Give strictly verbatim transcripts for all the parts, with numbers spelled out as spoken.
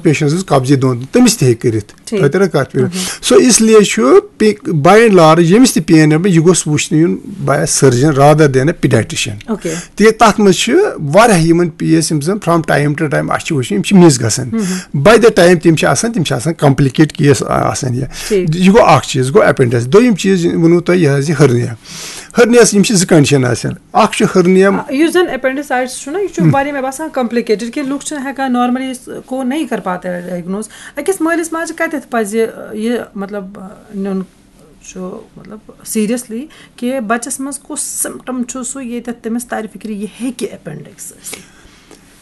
Patients قبضی دۄن، تٔمِس تہِ ہیٚکہِ کٔرِتھ۔ ٹھیٖک۔ تۄہہِ ترِ کتھ فِکرِ؟ سو اس لیے چھُ، باے اینڈ لارج، ییٚمِس تہِ پین آسہِ، یہِ گوٚژھ وٕچھنہٕ یُن باے سٔرجن رادر دین پیڈیٹرشن۔ اوکے۔ تِکیازِ تَتھ منٛز چھِ واریاہ یِمن پیس یِم زَن from time to time اَسہِ چھِ وٕچھان، یِم چھِ مِس گژھان۔ باے دَ ٹایم تِم چھِ آسان، تِم چھِ آسان کمپلِکیٹ کیس آسان یہِ۔ ٹھیٖک۔ یہِ گوٚو اکھ چیٖز، گوٚو اپینڈکس۔ دوٚیِم چیٖز ووٚنوُ تۄہہِ یہِ حظ یہِ ہرنیا۔ ہرنیاہس یِم چھِ زٕ کنڈیشن آسان، اکھ چھُ ہرنیا۔ آ، یُس زن اپینڈیسائٹس چھُ نا، یہِ چھُ واریاہ، مےٚ باسان، کمپلِکیٹڈ، کہِ لُکھ چھِنہٕ ہٮ۪کان normally اس کو نہیں کر پاتے ڈائگنوز۔ أکِس مٲلِس ماجہِ کتٮ۪تھ پزِ یہِ، مطلب، نیُن چھُ، مطلب، سیریسلی، کہِ بچس منٛز کُس سمپٹم چھُ سُہ، ییٚتٮ۪تھ تٔمِس ترِ فکرِ یہِ ہیٚکہِ اپینڈکس ٲسِتھ؟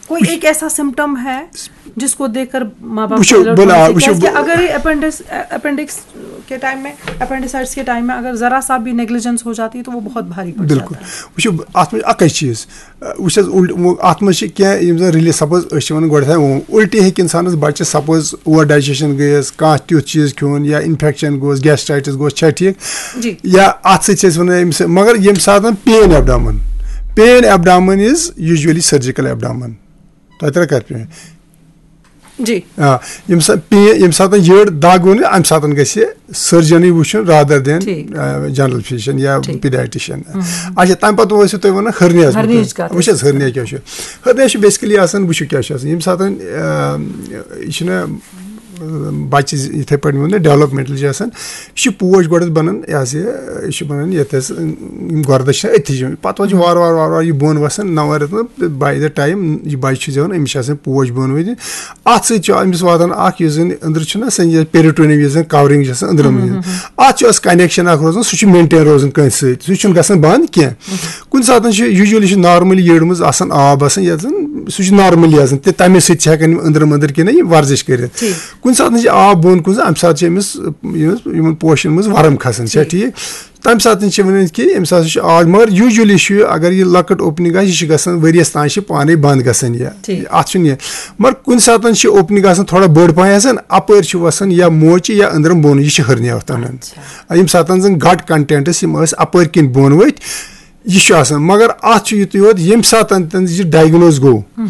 کوئی ایک ایسا سمپٹم ہے جس کو دیکھ کر ماں باپ وٕچھِو، کو alert بہٕ نا-، ہونا چاہیے؟ وٕچھِو، کیازِ کہِ اگر یہِ اپینڈکس، اپینڈکس کے ٹائم میں، اپینڈیسائٹس کے ٹائم میں اگر ذرا سا بھی نیگلیجنس ہو جاتی ہے تو وہ بہت بھاری پڑ بِلکُل۔ جاتا ہے۔ وٕچھِو، اَتھ منٛز چھِ اَکٕے چیٖز۔ وٕچھ حظ، اُلٹ-، وۄنۍ اَتھ منٛز چھِ کینٛہہ یِم زَن رِلیٖف، سپوز أسۍ چھِ وَنان گۄڈٕنٮ۪تھ، اۭں، اُلٹی ہیٚکہِ اِنسانَس بَچَس، سپوز اوور ڈایجیشن گٔیَس، کانٛہہ تیُتھ چیٖز کھیوٚن یا اِنفیکشن گوٚوَس، گیسٹرائٹس گوٚوَس، چھا ٹھیٖک؟ جی۔ یا اَتھ سۭتۍ چھِ أسۍ وَنان أمِس، مگر ییٚمہِ ساتَن پین ایبڈامن، پین ایبڈامن از یوٗجولی سٔرجِکل ایبڈامن۔ تۄہہِ ترٛےٚ کَتھ پین۔ جی۔ آ، ییٚمہِ ساتہٕ پین، ییٚمہِ ساتہٕ یٔڈ دَگ ووٚن، اَمہِ ساتہٕ گژھِ سٔرجَنٕے وٕچھُن رادر دین ٹھیٖک۔ جنرل فزیشن یا ٹھیٖک۔ پیڈیٹرشن۔ اچھا، تَمہِ پَتہٕ ٲسِو تُہۍ وَنان ہرنیاہَس ہرنیاہٕچ مُتعلِق۔ کَتھ وٕچھ حظ، ہرنیا کیٛاہ چھُ؟ ہرنیا چھُ بیسکلی آسان، وٕچھِو کیٛاہ چھُ آسان۔ ییٚمہِ ساتہٕ، آ، یہِ چھُنہ، آ، بَچہِ زِ-، یِتھَے پٲٹھۍ ووٚن مےٚ، ڈیولپمنٹل چھِ آسان، یہِ چھُ پوش گۄڈٕ بَنان، یہِ حظ یہِ، یہِ چھُ بَنان ییٚتہِ حظ، یِم گۄردَس چھِ أتھی چھِ، پَتہٕ حظ چھُ وارٕ وارٕ وارٕ وارٕ یہِ بۄن وَسان، نَوَن رٮ۪تَن، by the time یہِ بَچہِ چھُ زٮ۪وان، أمِس چھِ آسان پوش بۄن ؤتھۍ۔ اَتھ سۭتۍ چھُ أمِس واتان اَکھ، یُس زَن أنٛدرٕ چھُنہ آسان یہِ پیرِٹونیَم، یُس زَن کَورِنٛگ چھِ آسان أنٛدرَم، اَتھ چھُ اَسہِ کَنٮ۪کشَن اَکھ روزان، سُہ چھُ مینٹین روزان کٲنٛسہِ سۭتۍ، سُہ چھُنہٕ گژھان بنٛد کینٛہہ۔ کُنہِ ساتہٕ چھُ، یوٗجولی چھُ نارمٔلی یٔڈ منٛز آسان آب آسان، یَتھ زَن سُہ چھُ نارمٔلی آسان، تہٕ تَمے سۭتۍ چھِ ہٮ۪کان یِم أنٛدرَم أنٛدٕر کِنۍ یہِ ورزش کٔرِتھ۔ ٹھیٖک۔ کُنہِ ساتہٕ چھِ آب بۄن کُن، اَمہِ ساتہٕ چھِ أمِس، یِمَن، یِمَن پوشَن منٛز ورم کھسان، چھا ٹھیٖک؟ تَمہِ ساتہٕ چھِ وَنان کہِ أمِس ہسا چھُ آز، مگر یوٗجولی چھُ یہِ، اگر یہِ لۄکٕٹ اوپننگ آسہِ، یہِ چھِ گژھان ؤریَس تام چھِ پانَے بنٛد گژھان یہِ۔ ٹھیٖک۔ اَتھ چھُنہٕ یہِ، مگر کُنہِ ساتہٕ چھِ اوپننگ آسان تھوڑا بٔڑ پَہَن آسان، اَپٲرۍ چھُ وَسان یا موچہِ یا أنٛدرَم بۄن، یہِ چھِ ہرنیا تَنان۔ اچھا۔ ییٚمہِ ساتہٕ زَن گٹ کنٹینٹس یِم ٲسۍ اَپٲرۍ کِنۍ بۄن ؤتھۍ، یہِ چھُ آسان۔ مگر اَتھ چھُ یُتُے یوت، ییٚمہِ ساتہٕ تٔمِس یہِ ڈائگنوز گوٚو،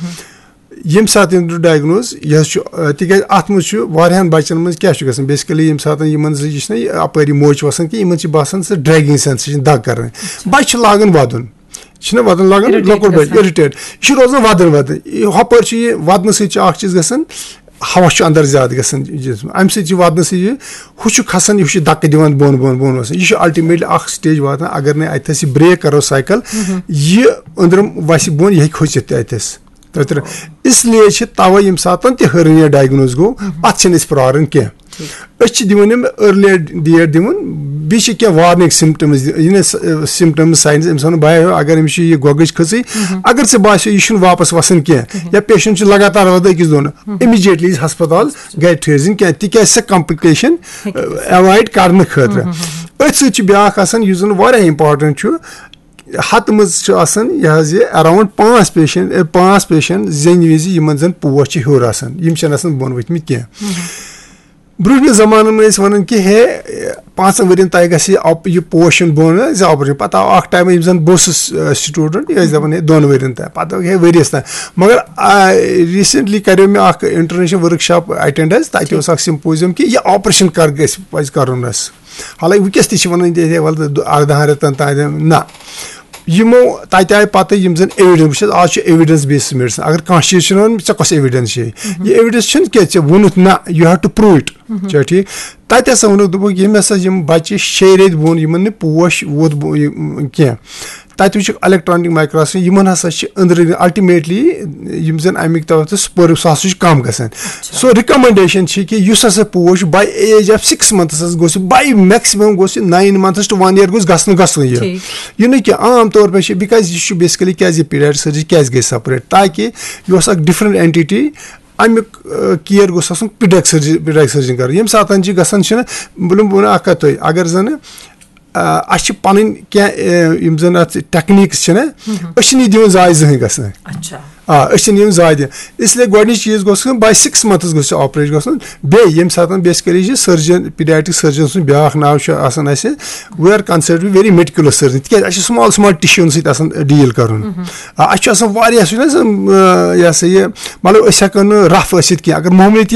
ییٚمہِ ساتہٕ تٔمۍ دیُت ڈائگنوز، یہِ حظ چھُ، آ، تِکیازِ اَتھ منٛز چھُ واریاہَن بَچَن منٛز کیٛاہ چھُ گژھان، بیسکلی ییٚمہِ ساتہٕ یِمَن زٕ، یہِ چھِنہ یہِ اَپٲرۍ یہِ موچ وَسان کینٛہہ، یِمَن چھِ باسان سُہ ڈریگنگ سینسیشن، دَگ کَرٕنۍ۔ بَچہِ چھِ لاگان وَدُن، چھِنہ وَدُن لاگان، irritate لۄکُٹ بَچہِ گژھان۔ اِرِٹیٹ، یہِ چھُ روزان وَدُن وَدُن۔ یہِ ہُپٲرۍ چھُ یہِ وَدنہٕ سۭتۍ چھُ اَکھ چیٖز گژھان، ہوا چھُ اَندَر زیادٕ گژھان جسم، اَمہِ سۭتۍ چھُ وَدنہٕ سۭتۍ یہِ، ہُہ چھُ کھسان، یہِ چھُ دَکہٕ دِوان بۄن، بۄن، بۄن وَسان۔ یہِ چھُ الٹیمیٹلی اَکھ سٹیج واتان، اگر نہٕ اَتہِ تھَس یہِ بریک کَرو سائیکل، یہِ أنٛدرَم وَسہِ بۄن، یہِ ہیٚکہِ کھٔژِتھ تہِ اَتہِ تھَس۔ تۄہہِ ترٛٲو۔ اس لیے چھِ تَوَے ییٚمہِ ساتَن تہِ ہرنیا ڈائگنوز گوٚو، اَتھ چھِنہٕ أسۍ پرٛاران کینٛہہ۔ أسۍ چھِ دِوان أمۍ ارلی ڈیٹ دِوان، بیٚیہِ چھِ کینٛہہ وارننگ سمپٹمز، یہِ نہٕ سمپٹمز، ساینز، أمِس وَنان بہٕ اگر أمِس چھِ یہِ گۄگٕج کھٔژٕے، اگر ژےٚ باسیو یہِ چھُنہٕ واپس وَسان کینٛہہ، یا پیشنٹ چھُ لگاتار وَدان أکِس دۄن، امیجیٹلی ہسپتال گرِ ٹھٔہرزِن کینٛہہ، تِکیازِ سۄ کمپلیکیشن ایوائڈ کرنہٕ خٲطرٕ۔ أتھۍ سۭتۍ چھُ بیاکھ آسان یُس زَن واریاہ امپورٹنٹ چھُ، ہتہٕ منٛز چھُ آسان یہِ حظ یہِ اراؤنڈ پانٛژھ پیشنٹ، اے، پانٛژھ پیشنٹ زیٚنہِ وِزِ یِمن زَن پوش چھِ ہیوٚر آسان، یِم چھِنہٕ آسان بۄن ؤتھمٕتۍ کینٛہہ۔ برونٛہمہِ زمانہٕ منٛز ٲسۍ وَنان کہِ ہے، پانٛژَن ؤرِین تام گژھِ یہِ آپ-، یہِ پوش یُن بۄن، زِ آپریشن۔ پَتہٕ آو اکھ ٹایم، یِم زَن بہٕ اوسُس، آ، سٹوڈنٹ، یہِ ٲسۍ دَپان ہے دۄن ؤرِین تام، پَتہٕ دوٚپُکھ ہے ؤریَس تام۔ مگر، آ، ریسنٹلی کریو مےٚ اکھ انٹرنیشنل ورک شاپ اٹینڈ حظ، تَتہِ اوس اکھ سمپوزیم کہِ یہِ آپریشن کر گژھِ، پَزِ کَرُن اَسہِ۔ حالانکہ وٕنکیٚس تہِ چھِ وَنان، دے، دے، وَلہٕ، دُ-، اَردَہَن رٮ۪تَن تام دِم۔ نہ، یِمو تَتہِ آیہِ پَتہٕ یِم زَن ایویڈنس، وٕچھ حظ، آز چھُ ایویڈنس بیسڈ میڈیسن۔ اگر کانٛہہ چیٖز چھُنہٕ وَنان، ژےٚ کۄس ایویڈنس چھے؟ یہِ ایویڈنس چھُنہٕ کینٛہہ، ژےٚ ووٚنُتھ نہ، you have to prove it۔ چھا ٹھیٖک؟ تَتہِ ہسا ووٚنُکھ، دوٚپُکھ، ییٚمۍ ہسا یِم بَچہِ شیٚیہِ ریٚتۍ بوٚن، یِمن نہٕ پوش ووت بو-، یہِ، کینٛہہ، تَتہِ وٕچھُکھ الیکٹرانک مایکروسکوپ، یِمن ہسا چھِ أنٛدرٕ الٹیمیٹلی یِم زَن اَمِکۍ تَتھ سُہ پٔر-، سُہ ہسا چھُ کَم گژھان۔ سو رِکمنڈیشن چھِ کہِ یُس ہسا پوش by age of six months حظ گوٚژھ، by maximum گوٚژھ یہِ nine months to one year گوٚژھ گژھنہٕ گژھُن یہِ۔ ٹھیٖک۔ یہِ نہٕ کینٛہہ، عام طور پہ چھِ، بِکاز یہِ چھُ بیسکلی کیازِ یہِ پیڈیاٹرک سرجری کیازِ گٔے سپریٹ، تاکہ یہِ اوس اکھ ڈفرنٹ اینٹیٹی، اَمیُک، آ، کیر گوٚژھ آسُن پیڈیاٹرک سرجری، پیڈیاٹرک سرجن کرُن۔ ییٚمہِ ساتہٕ چھِ گژھان چھِنہٕ، بہٕ دِمہٕ، بہٕ وَنہٕ اکھ کَتھ تۄہہِ، اگر زَنہٕ آ، اَسہِ چھِ پَنٕنۍ کینٛہہ، آ، یِم زَن اَتھ ٹیکنیٖکٕس چھِنہ، أسۍ چھِنہٕ یہِ دِوان زایہِ زٕہٕنۍ گژھنہٕ۔ اچھا۔ آ، أسۍ چھِنہٕ یِم زایہِ دِوان۔ اس لیے گۄڈٕنِچ چیٖز گوٚژھ گژھُن، by six months گوٚژھ یہِ آپریشن گژھُن۔ بیٚیہِ ییٚمہِ ساتہٕ بیسکلی چھِ سٔرجن، پیڈیاٹرک سٔرجن سُنٛد بیٛاکھ ناو چھُ آسان اَسہِ، we are considered very meticulous surgeon، تِکیٛازِ اَسہِ چھِ small small ٹِشوٗوَن سۭتۍ آسان ڈیٖل کَرُن۔ آ، اَسہِ چھُ آسان واریاہ، سُہ چھُنہٕ حظ، آ، یہِ ہسا یہِ، مطلب، أسۍ ہٮ۪کو نہٕ رف ٲسِتھ کینٛہہ۔ اگر معموٗلی تہِ